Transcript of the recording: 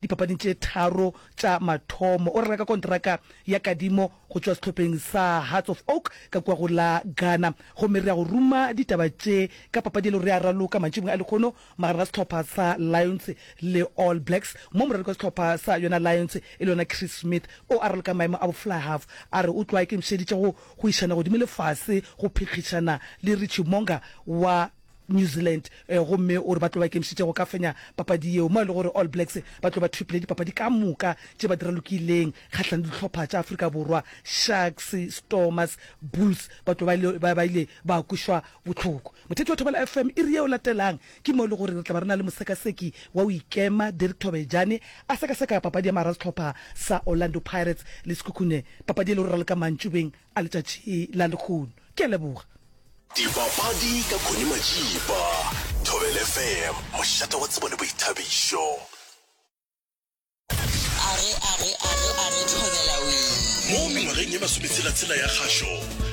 dipapading tše tharo tša mathomo. O reka ka kontraka ya kadimo go tšwa sehlopheng sa Hearts of Oak ka kua go la Ghana. Gomme re ya go ruma ditaba tše ka papadi e le gore ya raloka mantšibong a lehono magareng ga sehlopha sa Lions le All Blacks, mo moraloki wa sehlopha sa yona Lions e le yona Chris Smith o a raloka maemo a bo fly half a re o tloga a ikemišeditše go go išana godimo le fase go phekgišana le Richie Mo'unga wa New Zealand gomme o re ba tlo ba ikemišeditše go ka fenya papadi yeo mo e le gore All Blacks ba tlo ba thopile dipapadi ka moka tše ba di ralokileng kgahlanong le dihlopha tša Afrika Borwa, Sharks, Stormers, Bulls ba tlo ba ba ile ba kwešwa bohloko. Motheetši wa Thobela FM, iri yeo latelang ke mo e le gore re tla ba re na le mosekaseki wa go ikema Derek Thobejane a sekaseka papadi ya mara sehlopha sa Orlando Pirates le Sekhukhune, papadi e le gore raloka mantšubeng a letšatši la lehono. Ke a leboga. Dipapadi ka Connie Majiba, Thobela FM, mošate wa tsebo le boithabišo. Are, are, are, are, Thobela wee. Mo mengwageng ye masometshela-tshela ya kgašo.